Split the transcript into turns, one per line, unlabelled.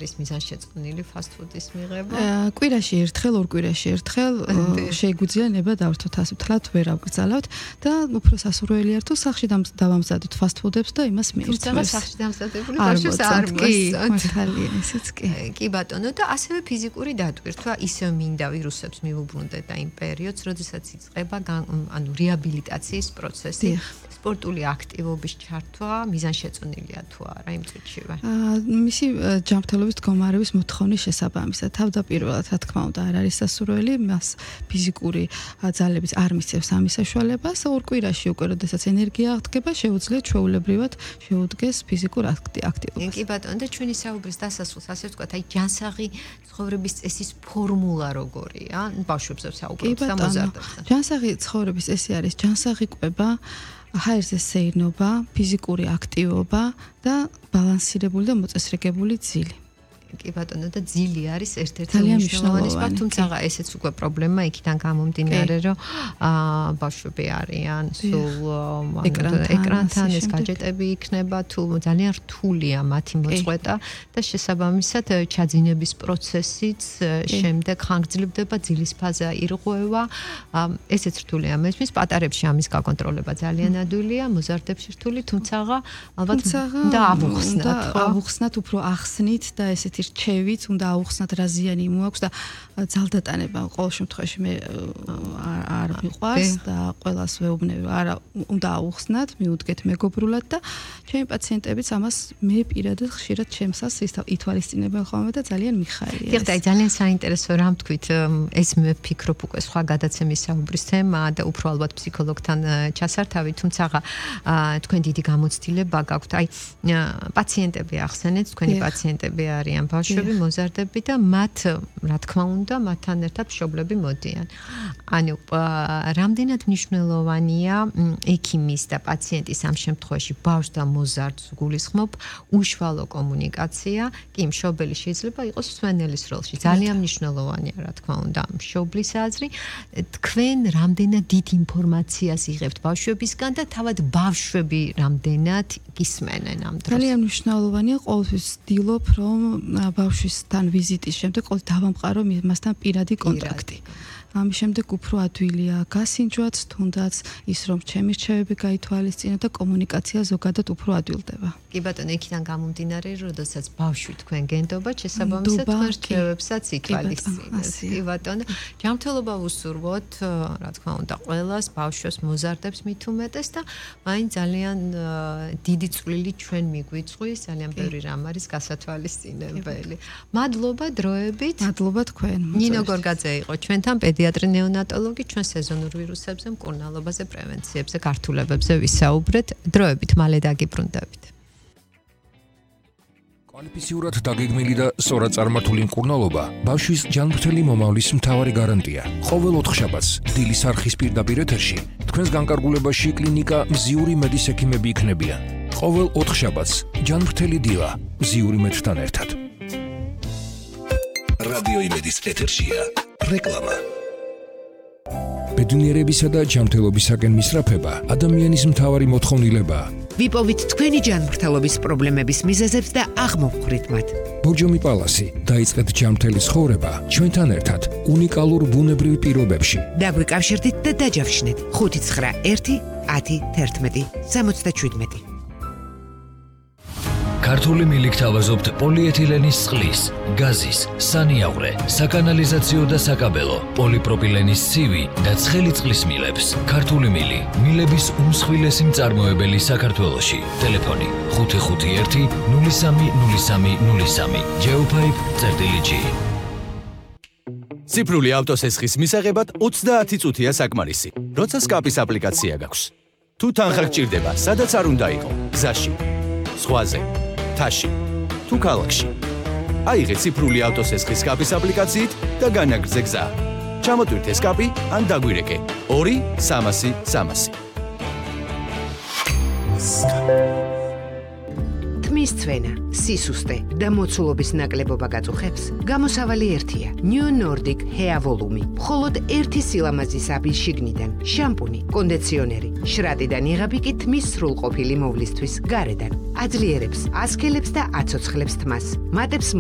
არის მიზანშეწონილი ფასტ-ფუდის მიღება?
კვირაში ერთხელ, ორ კვირაში ერთხელ შეგვიძლია ნება დავრთოთ ასე ვთქვათ, ვერ ავკრძალავთ და უფრო სასურველია თუ სახლში დავამზადოთ ფასტ-ფუდებს და იმას მიირთმევს.
თუმცა სახლში დამზადებული ბავშვებს არ მოსწონთ.
მართალია, ესეც კი.
კი ბატონო და ასევე ფიზიკური დატვირთვა ისევ მინდა ვირუსებს მიუბრუნდეთ და იმ პერიოდს, როდესაც იწყება რეაბილიტაციის პროცესი. სპორტული აქტივობის ჩართვა მიზანშეწონილია თუ არა იმ წუთშივე?
მისი ჯანმრთელობის მდგომარეობის მოთხოვნის შესაბამისად თავდაპირველად რა თქმა უნდა არ არის სასურველი, მას ფიზიკური ძალების არ მისცემს ამის საშუალებას, ორ კვირაში უკვე როდესაც ენერგია აღდგება, შეუძლია ჩვეულებრივად შეუდგეს ფიზიკურ აქტივობას.
კი ბატონო და ჩვენი საუბრის დასასრულს ასე ვთქვათ, აი ჯანსაღი ცხოვრების წესის ფორმულა როგორია? ბავშვებზე საუბრობთ და მოზარდებზე.
ჯანსაღი ცხოვრების წესი არის ჯანსაღი კვება, ჰაერზე სეირნობა, ფიზიკური აქტივობა და ბალანსირებული და მოწესრიგებული ძილი.
კი ბატონო და ძილი არის ერთ-ერთი მნიშვნელოვანი სპორტი, თუმცა ესეც უკვე პრობლემა იქიდან გამომდინარე, რომ ბავშვები არიან სულ ეკრანთან, ეს гаджеტები იქნება თუ ძალიან რთულია მათი მოწყვეტა და შესაბამისად ჩაძინების პროცესიც შემდეგ ხანგრძლივდება, ძილის ფაზა ირღვევა, ესეც რთულია მესმის, პატარებში ამის გაკონტროლება ძალიან ადვილია, მოზარდებში რთული, თუმცა ალბათ და
ავუხსნათ, უფრო ახსნით და ესეთი რჩევით უნდა აუხსნათ რა ზიანი მოაქვს და ძალდატანება ყოველ შემთხვევაში მე არ მიყვარს და ყველას ვეუბნები არა უნდა აუხსნათ, მიუდგეთ მეგობრულად და ჩემი პაციენტებიც ამას მე პირადად ხშირად ჩემსას ითვალისწინებენ ხოლმე და ძალიან მიხარია.
დიახ, ძალიან საინტერესო რამ თქვით, ეს მე ვფიქრობ უკვე სხვა გადაცემის საუბრის თემაა და უფრო ალბათ ფსიქოლოგთან ჩასართავი, თუმცა თქვენ დიდი გამოცდილება გაქვთ. აი პაციენტები ახსენეთ, თქვენი პაციენტები არიან ბავშვები, მოზარდები და მათ, რა თქმა უნდა, მათთან ერთად მშობლები მოდიან. ანუ რამდენად მნიშვნელოვანია ექიმის და პაციენტის ამ შემთხვევაში ბავშვს და მოზარდს გულისხმობ უშუალო კომუნიკაცია, კი მშობელი შეიძლება იყოს მსვენელის როლში. ძალიან მნიშვნელოვანია, რა თქმა უნდა, მშობლის აზრი. თქვენ რამდენად დიდ ინფორმაციას იღებთ ბავშვებისგან და თავად ბავშვები რამდენად გისმენენ ამ დროს?
ძალიან მნიშვნელოვანია, ყოველთვის ვცდილობ, რომ ბავშვისთან ვიზიტის შემდეგ ყოველ დავამყარო მასთან პირადი კონტაქტი. ამის შემდეგ უფრო ადვილია გასინჯვაც, თუნდაც ის რომ ჩემი რჩევები გაითვალისწინო და კომუნიკაცია ზოგადად უფრო ადვილდება.
კი ბატონო, იქიდან გამომდინარე, როდესაც ბავშვი თქვენ გენდობათ, შესაბამისად თქვენ რჩევებსაც ითვალისწინებთ. კი ბატონო, ჯანმრთელობა ვუსურვოთ, რა თქმა უნდა, ყველას, ბავშვებს, მოზარდებს მით უმეტეს და მაინც ძალიან დიდი წვლილი ჩვენ მიგვიწვის, ძალიან ბევრი რამ არის გასათვალისწინებელი. მადლობა დროებით.
მადლობა თქვენ.
ნინო გორგაძე იყო ჩვენთან პედიატრი ნეონატოლოგი, ჩვენ სეზონურ ვირუსებზე, მკურნალობაზე, პრევენციებზე, გართულებებზე ვისაუბრეთ. დროებით მალე დაგიბრუნდებით.
კვალიფიციურად დაგეგმილი და სწორად წარმართული მკურნალობა ბავშვის ჯანმრთელი მომავლის მთავარი გარანტია. ყოველ ოთხშაბათს დილის არხის პირდაპირ ეთერში თქვენს განკარგულებაში კლინიკა მზიური მედის ექიმები იქნებიან. ყოველ ოთხშაბათს ჯანმრთელი დილა მზიური მედთან ერთად. რადიო იმედის ეთერშია რეკლამა. ბედნიერებისა და ჯანმრთელობისაკენ მისწრაფება ადამიანის მთავარი მოთხოვნილებაა.
ვიპოვით თქვენი ჯანმრთელობის პრობლემების მიზეზებს და აღმოვხვრით მათ.
ბორჯომი პალასი, დაიწყეთ ჯანმრთელი ცხოვრება ჩვენთან ერთად უნიკალურ ბუნებრივ პირობებში.
დაგვიკავშირდით და დაჯავშნეთ 591 10 11 77.
ქართული მილი გთავაზობთ პოლიეთილენის წყლის, გაზის, სანიავრე, საკანალიზაციო და საკაბელო, პოლიპროპილენის ცივი და ცხელი წყლის მილებს. ქართული მილი, მილების უმსხვილესი მწარმოებელი საქართველოში. ტელეფონი 551 030303. Geopipe.g.
ციფრული ავტოსესხის მისაღებად 30 წუთია საკმარისი. როცა სკაპის აპლიკაცია გაქვს. თუ თანხა გჭირდება, სადაც არ უნდა იყო, გზაში, ზღვაზე, თაში, თუ ქალაქში. აიღე ციფრული ავტოსესხის სკაპის აპლიკაციით და განაგრძე გზა. ჩამოტვირთე სკაპი ან დაგვირეკე 2-300-300.
თმის წვენა, სისუსტე და მოცულობის ნაკლებობა გაწუხებს? გამოსავალი ერთია. New Nordic Hair Volume. მხოლოდ ერთი სილამაზის აბი შიგნიდან, შამპუნი, კონდიციონერი, შრატიდან იღები კი თმის სრულყოფილი მოვლისთვის გარედან. აძლიერებს, ასქელებს და აცოცხლებს თმას. მატებს